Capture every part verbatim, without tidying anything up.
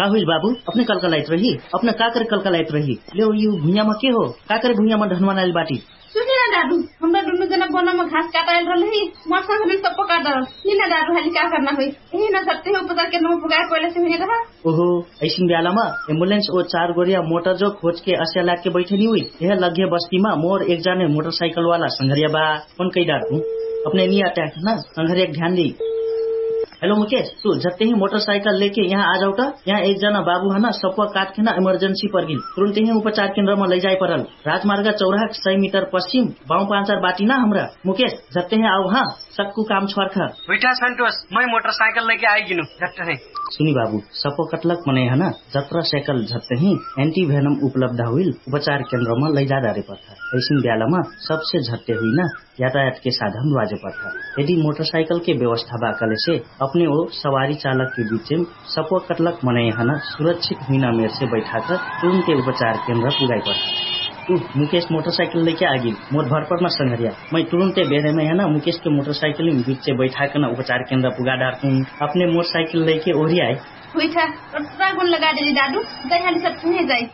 का हुइल बाबु? अपने कलकलाइत रही? अपने का करे कलकलाइत रही? लेउ यु भुइयामा के हो? का करे भुइयामा ढनवानाइल बाटी? सुनिना दादु, हमरा दुनु जना बनम घास काटाइल रहलही। मर्सा हमिन सब पका दरल। निना दादु हाली का करना होइ? यही न सत्य है उपचार के नौ पुगाए पहिले से हुइने रहा। ओहो, ऐसिन ब्यालामा एम्बुलेन्स ओ चार गोरिया मोटर जो खोज के अस्या लाग के बैठे नि हुइ। यह लग्घे बस्तीमा मोर एक जाने मोटरसाइकलवाला संघरिया बा। फोन कैडार तु अपने नि आट्याक न संघरिया के ध्यान देइ। हेलो मुकेश, तु झत्ते हि मोटरसाइकल लेके यहाँ आ जाउटा। यहाँ एक जना बाबु हना सप्वा काटके न इमर्जेन्सी पर्गिल। तुरुन्ते हि उपचार केन्द्रमा लैजाइ परल। राजमार्ग चौराहा सय मिटर पश्चिम बाउ पाँचार बाटी न हमरा। मुकेश, झत्ते हि आउ हाँ। सक्कु काम छ्वार्ख। हुइठा सन्तोष, मै मोटरसाइकल लैके आइगिनु। झट्ट है। सुनि बाबु, सप्वा कटलक मनै हना जत्रा साइकल झत्त हि एन्टिभेनम उपलब्ध हुइल उपचार केन्द्रमा लैजा डारे पर्था। ऐसिन ब्यालामा सबसे झट्टे हुइना यातायातके साधन बाजे पर्था। यदि मोटरसाइकलके व्यवस्था बा कहलेसे अपने ओ सवारी चालकके बिचेम सप्वा कटलक मनै हना सुरक्षित हुइना मेरसे बैठाक तुरुन्ते उपचार केन्द्र पुगाइ पर्था। उ मुकेश मोटरसाइकल लैके आगिल। मोर भरपरमा संघरिया, मै तुरुन्ते बेरेमै हना मुकेशके मोटरसाइकलिम बिच्चे बैठाकन उपचार केन्द्र पुगा डारतुन। अपने मोटरसाइकल लैके ओरियाइ। हुइठा। ओट्रा गुन लगाइ देली दादु। दैहाली सब तुहे जाइ।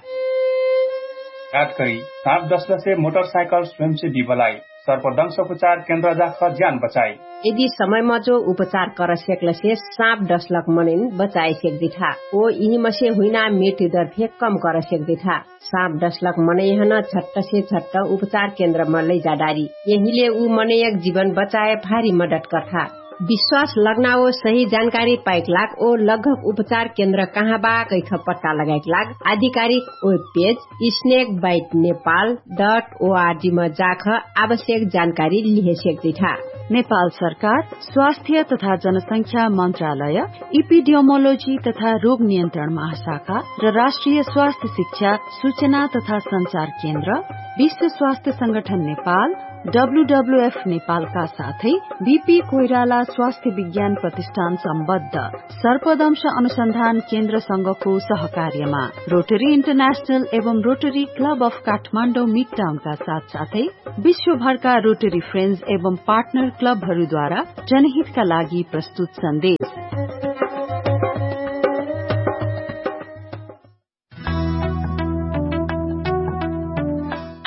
काट करी साप दसलसे मोटरसाइकल स्वयंसेवी बलाइ। सर्पदंश उपचार केन्द्र जाख ज्यान बचाइ। यदि समय मजो उपचार कर सेक्लसे साप दसलक मनैन बचाइ सेक्दिठा। ओ यिहिमसे हुइना मेटिदर फे कम कर सेक्दिठा। साप दसलक मनैहन झट्टसे झट्ट उपचार केन्द्रमा लैजाडारी। यहिले उ मनैयक जिवन बचाए भारी मदत कर्ठा। विश्वास लग्ना ओ सही जानकारी पाइक लाग ओ लग्घक उपचार केन्द्र कहाँ बा कैख पट्टा लगाइक लाग आधिकारिक web page snake bite Nepal dot O R G म जाख आवश्यक जानकारी लिहे सेक्दिठा। नेपाल सरकार स्वास्थ्य तथा जनसंख्या मन्त्रालय, इपिडियोमोलोजी तथा रोग नियन्त्रण महाशाखा र राष्ट्रिय स्वास्थ्य शिक्षा सूचना तथा सञ्चार केन्द्र, विश्व स्वास्थ्य संगठन नेपाल, डब्ल्युडब्ल्युएफ नेपालका साथै बिपी कोइराला स्वास्थ्य विज्ञान प्रतिष्ठान सम्बद्ध सर्पदंश अनुसन्धान केन्द्रसँगको सहकार्यमा रोटरी इन्टरनेशनल एवं रोटरी क्लब अफ काठमाडौँ मिडटाउनका साथसाथै विश्वभरका रोटरी फ्रेन्ड्स एवं पार्टनर क्लबहरूद्वारा जनहितका लागि प्रस्तुत सन्देश।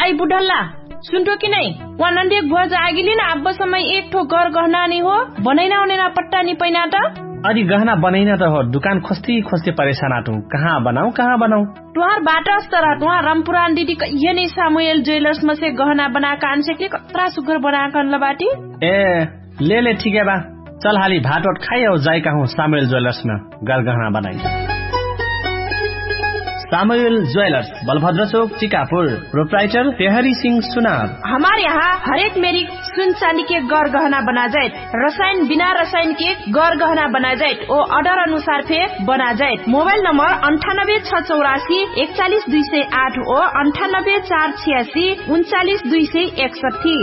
आइ बुढल्ला, सुन्ठो कि नै? वा नन्दियक भुवाज आगिलिन आब्ब समय एक ठो गर गहना नि हो बनैना ओनैना पट्टा नि पैना त। अरि गहना बनैना त हो दुकान खोस्ती खोस्ती परेशान आटु। कहाँ बनाउ कहाँ बनाउ? तुहार बाटस तर तुहार रमपुरान दिदी कहिया नै सामुएल ज्वेलर्स मसे गहना बनाक आनसेकले कत्रा सुग्घर बनाक अनल बाटी। ए, ले ले ठिकै बा। चल हाली भात ओट खाइ औ जाइ कहु सामुएल ज्वेलर्स न गरगहना बनाइ। सामुएल ज्वेलर्स, बलभद्र चोक, चिकापुर। प्रोप्राइटर पेहरी सिंह सुनार। हमार यहाँ हरेक मेरी सुन चाँदीके गरगहना बनाजैत, रसायन बिना रसायनके गरगहना बनाजैत ओ अर्डर अनुसार फे बनाजैत। मोबाइल नम्बर अन्ठानब्बे छ चौरासी एकचालिस दुई सय आठ ओ अन्ठानब्बे चार छियासी उन्चालिस दुई सय एकसट्ठी।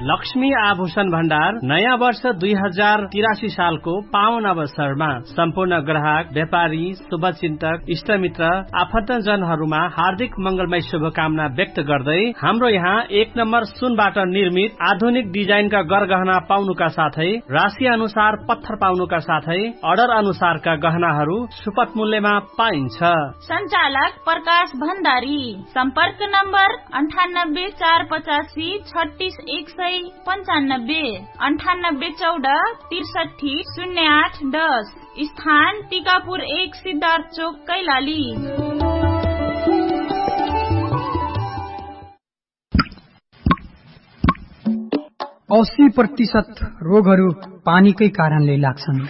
लक्ष्मी आभूषण भण्डार नयाँ वर्ष दुई हजार तिरासी सालको पावन अवसरमा सम्पूर्ण ग्राहक, व्यापारी, शुभचिन्तक, इष्टमित्र, आफन्तजनहरूमा हार्दिक मङ्गलमय शुभकामना व्यक्त गर्दै हाम्रो यहाँ एक नम्बर सुनबाट निर्मित आधुनिक डिजाइनका गरगहना पाउनुका साथै राशि अनुसार पत्थर पाउनुका साथै अर्डर अनुसारका गहनाहरू सुपथ मूल्यमा पाइन्छ। सञ्चालक प्रकाश भण्डारी। सम्पर्क नम्बर अन्ठानब्बे चार पचासी छत्तिस एक सय पन्चानब्बे, अन्ठानब्बे चौध त्रिसट्ठी शून्य आठ दस। स्थान टिकापुर एक सिद्धार्थ चोक कैलाली। अस्सी प्रतिशत रोगहरू पानीकै कारणले लाग्छन्।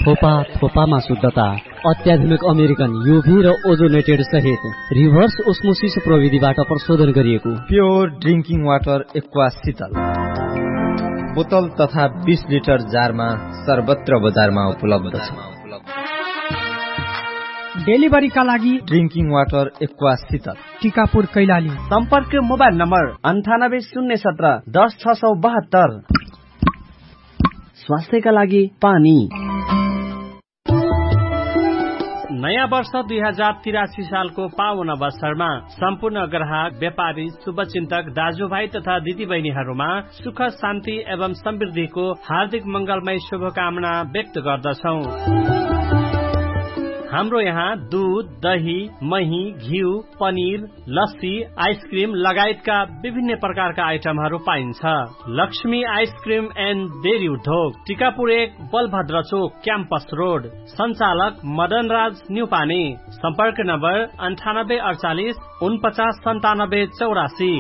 थोपा थोपामा शुद्धता, अत्याधुनिक अमेरिकन युभी र ओजोनेटेड सहित रिभर्स ओस्मोसिस प्रविधिबाट प्रशोधन गरिएको प्योर ड्रिङ्किङ वाटर एक्वा शीतल बोतल तथा बिस लिटर जारमा सर्वत्र बजारमा उपलब्ध छ। डेलिभरीका लागि ड्रिङ्किङ वाटर एक्वा शीतल, टिकापुर कैलाली। सम्पर्क मोबाइल नम्बर अन्ठानब्बे शून्य सत्र दस छ सौ बहत्तर। स्वास्थ्यका लागि पानी। नयाँ वर्ष दुई हजार तिरासी सालको पावन अवसरमा सम्पूर्ण ग्राहक, व्यापारी, शुभचिन्तक दाजुभाइ तथा दिदीबहिनीहरूमा सुख, शान्ति एवं समृद्धिको हार्दिक मंगलमय शुभकामना व्यक्त गर्दछौँ। हाम्रो यहाँ दुध, दही, मही, घिउ, पनिर, लस्सी, आइसक्रिम लगायतका विभिन्न प्रकारका आइटमहरू पाइन्छ। लक्ष्मी आइसक्रिम एन्ड डेरी उद्योग, टिकापुर एक, बलभद्र चोक, क्याम्पस रोड। सञ्चालक मदनराज न्युपाने। सम्पर्क नम्बर अन्ठानब्बे अडचालिस उनपचास सन्तानब्बे चौरासी।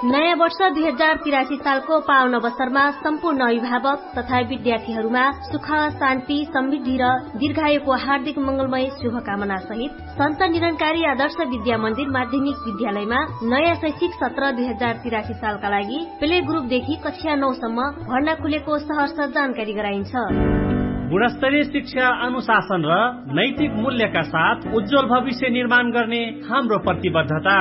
नयाँ वर्ष दुई हजार तिरासी सालको पावन अवसरमा सम्पूर्ण अभिभावक तथा विद्यार्थीहरूमा सुख, शान्ति, समृद्धि र दीर्घायुको हार्दिक मंगलमय शुभकामना सहित सन्त निरंकारी आदर्श विद्या मन्दिर माध्यमिक विद्यालयमा नयाँ शैक्षिक सत्र दुई हजार तिरासी सालका लागि प्ले ग्रुपदेखि कक्षा नौ सम्म भर्ना खुलेको सहर्ष जानकारी गराइन्छ। गुणस्तरीय शिक्षा, अनुशासन र नैतिक मूल्यका साथ उज्जवल भविष्य निर्माण गर्ने हाम्रो प्रतिबद्धता।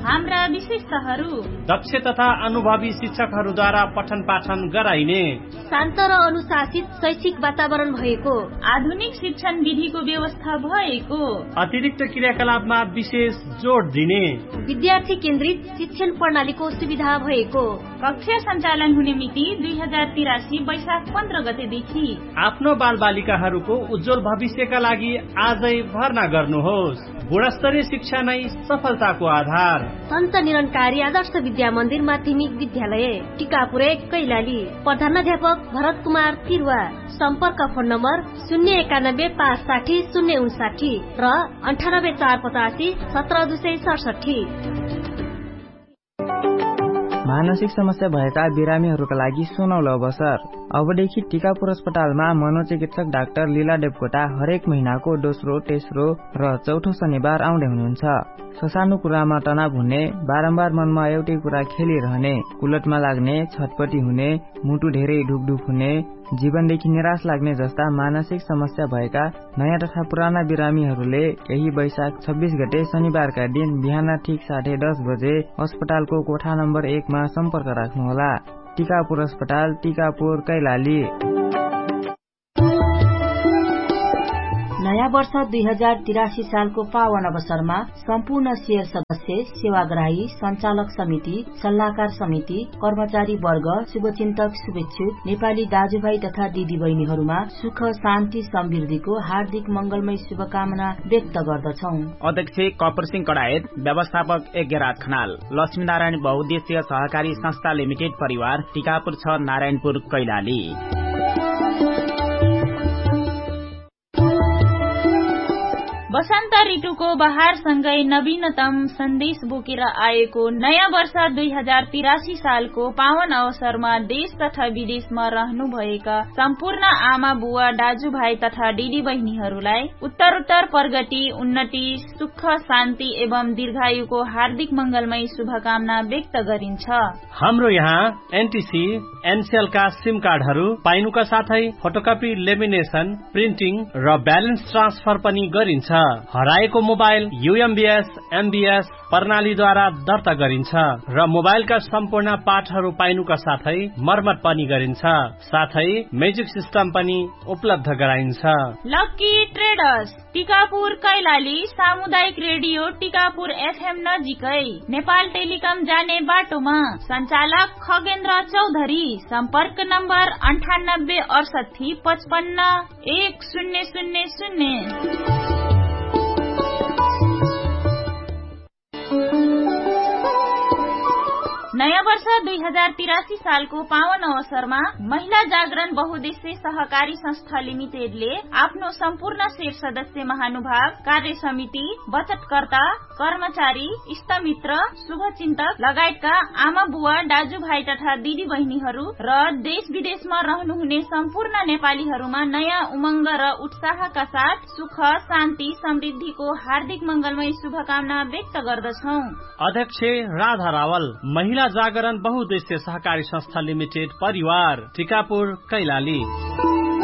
हाम्रा विशेषताहरू। दक्ष तथा अनुभवी शिक्षकहरूद्वारा पठन पाठन गराइने। शान्त र अनुशासित शैक्षिक वातावरण भएको। आधुनिक शिक्षण विधिको व्यवस्था भएको। अतिरिक्त क्रियाकलापमा विशेष जोड दिने। विद्यार्थी केन्द्रित शिक्षण प्रणालीको सुविधा भएको। कक्षा सञ्चालन हुने मिति दुई हजार तिरासी वैशाख पन्ध्र गतेदेखि। आफ्नो बालबालिकाहरूको उज्जवल भविष्यका लागि आजै भर्ना गर्नुहोस्। गुणस्तरीय शिक्षा नै सफलताको आधार। सन्त निरंकारी आदर्श विद्या मन्दिर माध्यमिक विद्यालय, टिकापुर एक, कैलाली। प्रधानाध्यापक भरत कुमार तिरुवा। सम्पर्क फोन नम्बर शून्य एकानब्बे पाँच साठी शून्य उनसाठी र अन्ठानब्बे चार पचासी सत्र दुई सय सडसठी। मानसिक समस्या भएका बिरामीहरूका लागि सुनौलो अवसर। अबदेखि टिकापुर अस्पतालमा मनोचिकित्सक डाक्टर लीला देवकोटा हरेक महिनाको दोस्रो, तेस्रो र चौथो शनिबार आउँदै हुनुहुन्छ। ससानो कुरामा तनाव हुने, बारम्बार मनमा एउटै कुरा खेलिरहने, कुलटमा लाग्ने, छटपटी हुने, मुटु धेरै ढुकढुक हुने, जीवनदेखि निराश लाग्ने जस्ता मानसिक समस्या भएका नयाँ तथा पुराना बिरामीहरूले यही वैशाख छब्बिस गते शनिबारका दिन बिहान ठिक साढे दस बजे अस्पतालको कोठा नम्बर एकमा सम्पर्क राख्नुहोला। टिकापुर अस्पताल, टिकापुर, कैलाली। नयाँ वर्ष दुई हजार तिरासी सालको पावन अवसरमा सम्पूर्ण सेयर सदस्य, सेवाग्राही, सञ्चालक समिति, सल्लाहकार समिति, कर्मचारी वर्ग, शुभचिन्तक, शुभेच्छुक, नेपाली दाजुभाइ तथा दिदीबहिनीहरूमा सुख, शान्ति, समृद्धिको हार्दिक मंगलमय शुभकामना व्यक्त गर्दछौँ। अध्यक्ष कपुरसिंह कडायत, व्यवस्थापक यज्ञराज खनाल, लक्ष्मीनारायण बहुद्देश्य सहकारी संस्था लिमिटेड परिवार, टिकापुर छ, नारायणपुर, कैलाली। बसन्त ऋतुको बहारसँगै नवीनतम सन्देश बोकेर आएको नयाँ वर्ष दुई हजार तिरासी सालको पावन अवसरमा देश तथा विदेशमा रहनुभएका सम्पूर्ण आमा बुवा, दाजुभाइ तथा दिदीबहिनीहरूलाई उत्तरोत्तर प्रगति, उन्नति, सुख, शान्ति एवं दीर्घायुको हार्दिक मंगलमय शुभकामना व्यक्त गरिन्छ। हाम्रो यहाँ एनटिसी, एनसेलका सिम कार्डहरू पाइनुका साथै फोटोकपी, लेमिनेसन, प्रिन्टिङ र ब्यालेन्स ट्रान्सफर पनि गरिन्छ। हराएको मोबाइल युएमबिएस, एमबिएस प्रणालीद्वारा दर्ता गरिन्छ र मोबाइलका सम्पूर्ण पाठहरू पाइनुका साथै मर्मत पनि गरिन्छ। साथै म्युजिक सिस्टम पनि उपलब्ध गराइन्छ। लकी ट्रेडर्स, टिकापुर, कैलाली, सामुदायिक रेडियो टिकापुर एफएम नजिकै, नेपाल टेलिकम जाने बाटोमा। सञ्चालक खगेन्द्र चौधरी। सम्पर्क नम्बर अन्ठानब्बे अडसट्ठी पचपन्न एक शून्य शून्य शून्य। नयाँ वर्ष दुई हजार तिरासी सालको पावन अवसरमा महिला जागरण बहुद्देश्य सहकारी संस्था लिमिटेडले आफ्नो सम्पूर्ण शेर सदस्य, महानुभाव, कार्य समिति, बचतकर्ता, कर्मचारी, इष्टमित्र, शुभचिन्तक लगायतका आमा बुवा, दाजुभाइ तथा दिदीबहिनीहरू र देश विदेशमा रहनुहुने सम्पूर्ण नेपालीहरूमा नयाँ उमङ्ग र उत्साहका साथ सुख, शान्ति, समृद्धिको हार्दिक मंगलमय शुभकामना व्यक्त गर्दछौँ। अध्यक्ष राधा रावल, महिला जागरण बहुद्देश्य सहकारी संस्था लिमिटेड परिवार, टिकापुर, कैलाली।